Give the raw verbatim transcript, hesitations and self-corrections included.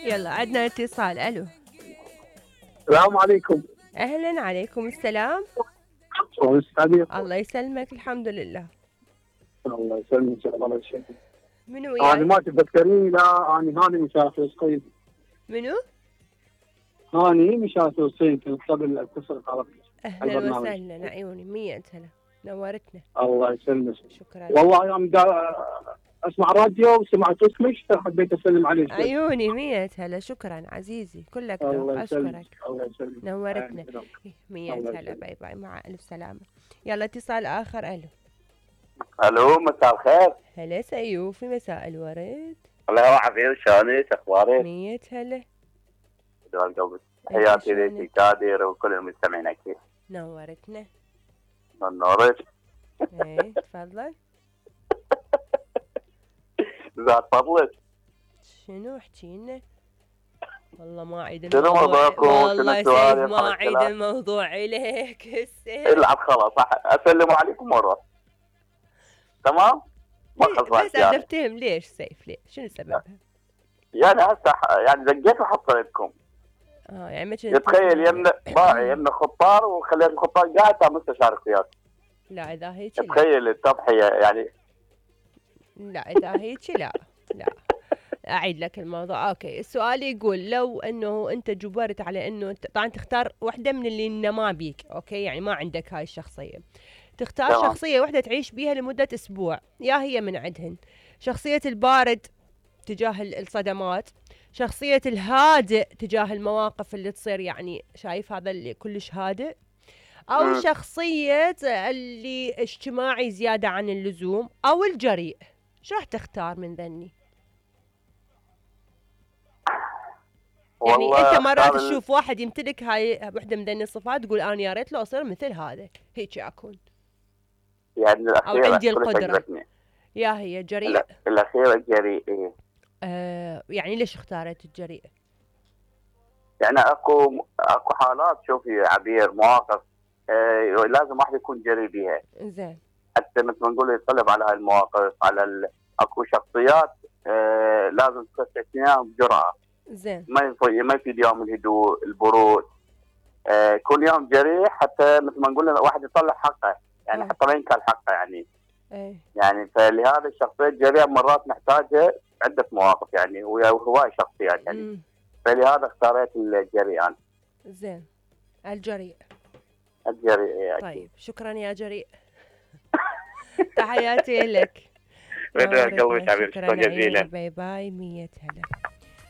يلا عندنا اتصال. الو السلام عليكم. اهلا، عليكم السلام. الله يسلمك. الحمد لله. الله يسلمك. الله يسلمك. منو وياي؟ انا ما تتذكريني. لا انا هاني مشان فلسطين. منو؟ هاني مشان فلسطين كنت قبل اتصل على اهلا وسهلا. عيوني مية هلا، نورتنا. الله يسلمك. شكرا. والله يوم دا اسمع راديو وسمعت اسمك فحبيت اسلم عليك. عيوني مية هلا. شكرا عزيزي، كلك ذوق. اشكرك. الله يسلمك. نورتنا. مية هلا. باي باي، مع الف سلامه. يلا اتصال اخر. الو الو مساء الخير. هلا سيوفي، مساء الورد. الله يوعافيك، شلونك؟ اخبارك؟ مية هلا. دوام قلبك. حياتي ليك كادر وكل المستمعين اكيد. نورتنا. نورك. ايه تفضل. زاد فضلك. شنو احكي لنا؟ والله ما عيد شنو موضوعكم؟ والله سيف ما عيد الموضوع اليك هسه. العب خلاص. اسلم عليكم مره. تمام؟ ما خلصت. بس انا افتهم ليش سيف، ليش؟ شنو سببها؟ يعني هسه يعني دقيت وحصلتكم. اه يعني ما كنت تخيل يمنا باعي يمنا خطار وخليت الخطار قاعد تم مستشار اختيار. لا اذا هيك تخيل التضحيه يعني. لا اذا هيك لا لا. اعيد لك الموضوع. اوكي، السؤال يقول لو انه انت جبرت على انه طبعا تختار واحده من اللي ما بيك، اوكي، يعني ما عندك هاي الشخصيه، تختار طبعا شخصيه واحده تعيش بيها لمده اسبوع، يا هي من عندهن شخصيه البارد تجاه الصدمات، شخصيه الهادئ تجاه المواقف اللي تصير، يعني شايف هذا اللي كلش هادئ، او م. شخصيه اللي اجتماعي زياده عن اللزوم، او الجريء. شو راح تختار من ذني؟ يعني انت مرات تشوف واحد يمتلك هاي وحده من ذني الصفات تقول انا يا ريت لو اصير مثل هذا، هيك اكون. يعني او عندي القدره. يا هي جريء. لا الاخيره جريء. إيه؟ آه يعني ليش اختارت الجريء؟ يعني اكو اكو حالات شوفي عبير، مواقف آه لازم واحد يكون جريء بها. زين. حتى مثل ما نقول يتطلب على هاي المواقف، على ال... اكو شخصيات آه لازم تستثنيها بجرأة. زين. ما يفيد ما يفيد يوم الهدوء، البرود. آه كل يوم جريء حتى مثل ما نقول واحد يطلع حقه، يعني أوه. حتى ما ينكر حقه يعني. ايه. يعني فلهذا الشخصية الجريئة مرات نحتاجها عدة مواقف يعني، وهواي شخصيات يعني. مم. فلهذا اختاريت الجريء انا. زين. الجريء. الجريء يعني. طيب شكرا يا جريء. تحياتي لك. شكرا جزيلا. باي باي. مية هلا.